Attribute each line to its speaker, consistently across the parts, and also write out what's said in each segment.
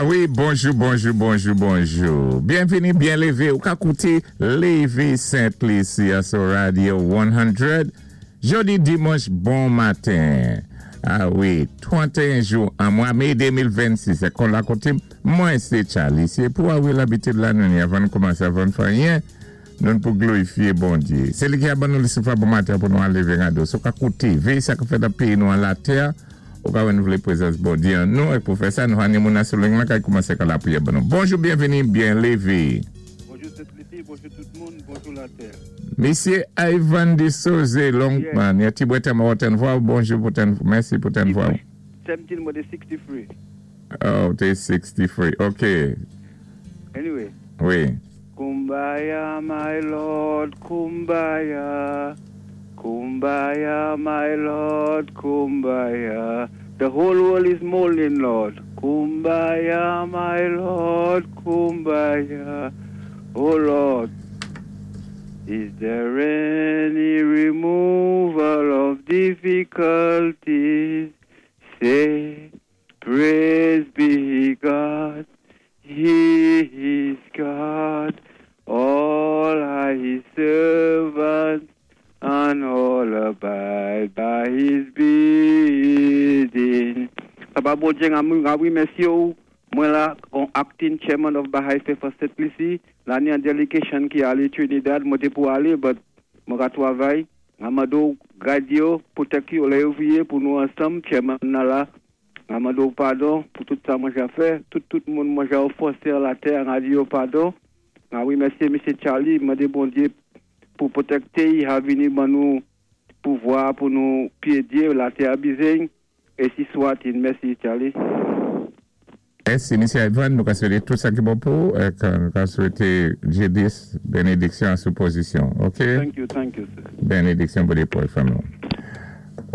Speaker 1: A wi, bonjou, bonjou, bonjou, bonjou. Byenvini, byen lévé. Ou ka kouté Lévé Sent Lisi sou Radio 100. Jòdi dimanch, bon maten. A wi, 31 jou an mwa mé 2026. É kon la koté, mwen sé Charlie. Sé pou a wi labitid la nou ni avan nou koumansé, avan nou fè anyen, nou pou glorifié Bondyé. Sé li ki a ban nou souf la bon maten pou nou lévé rado. Si ou ka kouté, véyé sa ki fèt nan péyi nou an latè, ou ka wè nou vlé prézans Bondyé an nou, é pou fè sa, nou ni moun sou liy la ki koumansé ka lapriyè ban nou. Bonjou, byenvini, byen lévé.
Speaker 2: Bonjou Sent-Lisi, bonjou tout moun, bonjou latè.
Speaker 1: Misyé Ivan de Souza, Longman, yon ti bwèt an vwa, bonjou pou ten, mèsi pou ten vwa.
Speaker 2: 17 mwen té 63.
Speaker 1: Oh, té 63, OK.
Speaker 2: Anyway.
Speaker 1: Wi.
Speaker 2: Kumbaya, my Lord, kumbaya. Kumbaya, my Lord, kumbaya. The whole world is mourning, Lord. Kumbaya, my Lord, kumbaya. Oh Lord, is there any removal of difficulties? Say, praise be God. He is God. All are his servants and all abide by his bidding. Papa Bondyé, mwen mèsi ou. Mwen la, kon acting chairman of Baha'i Faith of St. Lucie, la ni an delegation ki alé Trinidad, mwen té pou alé, but mwen ka twavay. Mwen mandé ou gad yo, pwotèk yo, lè yo viyé pou nou ansanm, chairman nan la. Mwen mandé ou padon pou tout sa mwen ja fè, tout moun mwen ja ofansé latè, mwen di yo padon. A wi, mèsi, Misyé Charlie, mandé Bondyé pou pwotekté, a vini ban nou pouvwa pou nou pyédyé latè a bizwen. Ensi swat-il. Mèsi, Charlie.
Speaker 1: Mèsi, Misyé Ivan. Nou ka swété tout sa ki bon pou é nou ka swété G10 benediksyon sou pozisyon. OK?
Speaker 2: Thank you, sir.
Speaker 1: Benediksyon pou pou fanmi.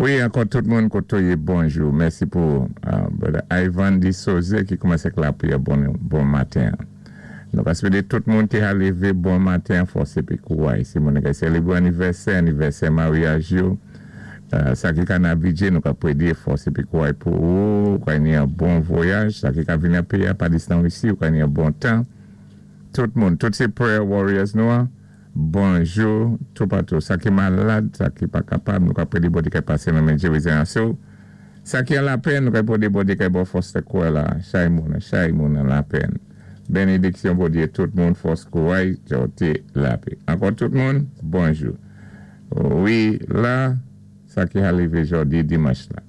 Speaker 1: Wi, ankò tout moun koté ou yé, bonjou. Mèsi pou brother Ivan de Souza ki koumansé avèk lapriyè bon, bon maten. Nou ka swété tout moun ki a lévé bon maten, fòs épi kouray. Si moun ki sélébwé anivèsè, anivèsè maryaj yo, sa ki ka navigé, nou ka prédé fòs épi kouray pou ou, ka yon bon vwayaj, sa ki ka vini péyi pa distans isi, ou ka yon bon tan. Tout moun, tout sé prayer warriors nou, en. Bonjou, toupatou. Sa ki malad, sa ki pa kapab, nou ka prédé Bondyé ka pasé nan men Jérusalem. Sa ki an lapèn, nou ka prédé Bondyé ka ba ou fòs kwè la, chay moun an lapèn. Benediksyon Bondyé, tout moun, fòs kouray, jòté lapè. Ankò tout moun, bonjou. Wi, la, sa ki arivé jòdi dimanch la.